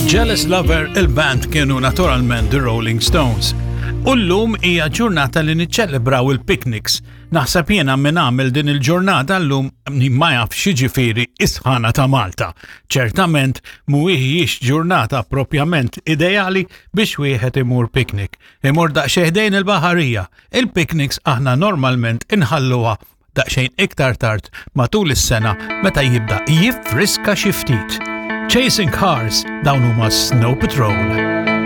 Jealous Lover il-band kienu naturalment The Rolling Stones. U llum hija ġurnata li niċċelebraw il-picnics. Naħseb jiena min għamel din il-ġurnata llum ma jaf x'jiġifieri is-sħana ta' Malta. Ċertament mhuwiex ġurnata propjament ideali biex wieħed imur picnic. Imur daqsxejn ħdejn il-baħarija. Il-picnics aħna normalment inħalluha daqsxejn iktar tard matul is-sena meta jibda jiffriska xi ftit. Chasing Cars dawn huma Snow Patrol.